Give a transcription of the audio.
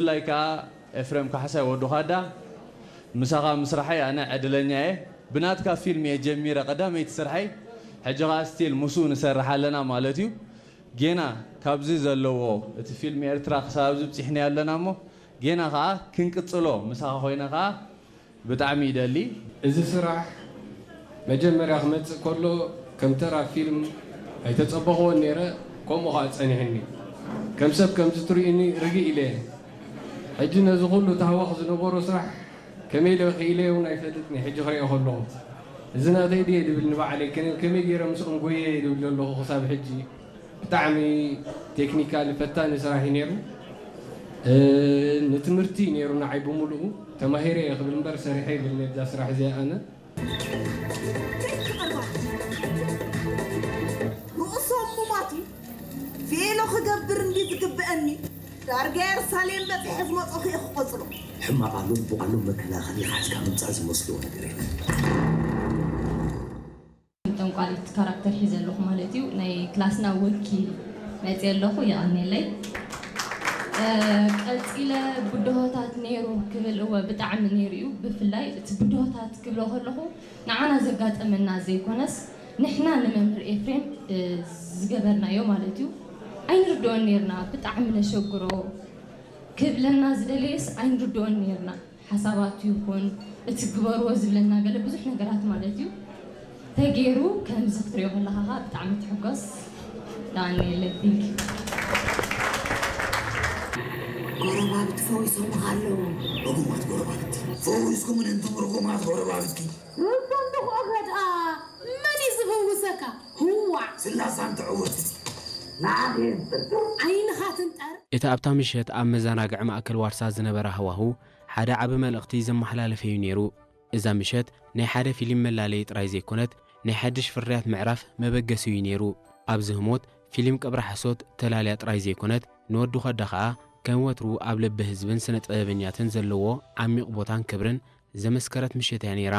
ብፍላይ ከዓ ኤፍሬም ካሕሳይ ወዲ ኻዳ፣ ምሳኻ ምስራሐይ ኣነ ዕድለኛ እየ። ብናትካ ፊልም እየ ጀሚረ ቀዳመይቲ ስርሐይ፣ ሕጂ ኸዓ ስቲል ምስኡ ንሰርሕ ኣለና ማለት እዩ። ጌና ካብዚ ዘለዎ እቲ ፊልም ኤርትራ ክሳብ ኣብዚ ብፂሕና ኣለና እሞ ጌና ኸዓ ክንቅፅሎ ምሳኻ ኮይነ ኸዓ ብጣዕሚ ይደሊ። እዚ ስራሕ መጀመርያ ክመጽእ ከሎ ከም ተራ ፊልም ኣይተጸበኽዎን ነይረ፣ ከምኡ ኸኣ ጸኒሕኒ። ከም ሰብ ከምዚ ትርእዩኒ ርግእ ኢለ እየ። ሕጂ ነዚ ኩሉ ታህዋኽ ዝነበሮ ስራሕ ከመይ ኢለ ክኢለ እውን ኣይፈልጥን እየ። ሕጂ ክሪኦ ከለኹ እዚ ናተይ ድየ ድብል ንባዕለይ፣ ከነ-፣ ከመይ ገይረ ምስኦም ጎየ ድብል ዘለኹ ክሳብ ሕጂ። ብጣዕሚ ቴክኒካል ፈታኒ ስራሕ እዩ ነይሩ። እ፣ ንትምህርቲ ነይሩ ንዓይ ብምሉኡ። ተማሂረ እየ ክብል እምበር ሰሪሐ ይብልን እዛ ስራሕ እዚኣ ኣነ። ርእሶም ሙማት እዩ። ቬሎ ክገብር እንዲ ዝግብአኒ ዳርጋ የርሳሌም በፂሐ ዝመፀኹ እየ ክቆፅሮ። ሕማቕ ኣሎ፣ ብቑዕ ኣሎ፣ መከላኸሊ ሓዝካ ምምፃእ ዝመስሎ ነገር የለን። ጠንቋሊት ካራክተር ሒዘ ኣለኹ ማለት እዩ። ናይ ክላስና ወኪል መፅየ ኣለኹ፣ የቐንየለይ። እ፣ ቀፂለ ብድሆታት ነይሩ ክብል፣ እወ ብጣዕሚ ነይሩ እዩ። ብፍላይ እቲ ብድሆታት ክብሎ ከለኹ ንዓና ዘጋጠመና ዘይኮነስ ንሕና ንመምህር ኤፍሬም እ፣ ዝገበርናዮ ማለት እዩ። ኣይንርድኦን ነይርና፣ ብጣዕሚ ነሸግሮ። ክብለና ዝደለየስ ኣይንርድኦን ነይርና። ሓሳባቱ ይኹን እቲ ግበርዎ ዝብለና ገለ ብዙሕ ነገራት ማለት እዩ ተገይሩ። ከምዚ ክትሪኦ ከለኻ ኸዓ ብጣዕሚ ትሕጎስ። ዳንኤል፣ thank you። ጎረባብቲ ፈዊሶምኻ ኣለዉ። ርጉማት ጎረባብቲ። ፈዊስኩም እንቱም ርጉማት ጎረባብቲ። ርጉም ድኹ ኸድኣ መን እዩ ዝፈውሰካ? ህዋዕ። ስላሳን ትዕውት። ንዓኺ የንጽር። ዓይንኻ ትንጠር። እቲ ኣብታ ምሸት ኣብ መዘናግዒ ማእከል ዋርሳ ዝነበረ ሃዋሁ ሓደ ዓቢ መልእኽቲ ዘመሓላለፈ'ዩ ነይሩ። እዛ ምሸት ናይ ሓደ ፊልም መላለዪ ጥራይ ዘይኮነት፣ ናይ ሓድሽ ፍርያት ምዕራፍ መበገሲ'ዩ ነይሩ። ኣብዚ ህሞት ፊልም ቀብሪ ሓሶት ተላልያ ጥራይ ዘይኮነት፣ ንወዲ ኾዳ ኸኣ ከም ወትሩ ኣብ ልቢ ህዝብን ስነ ጥበበኛትን ዘለዎ ዓሚቕ ቦታን ክብርን ዘመስከረት ምሸት እያ ነይራ።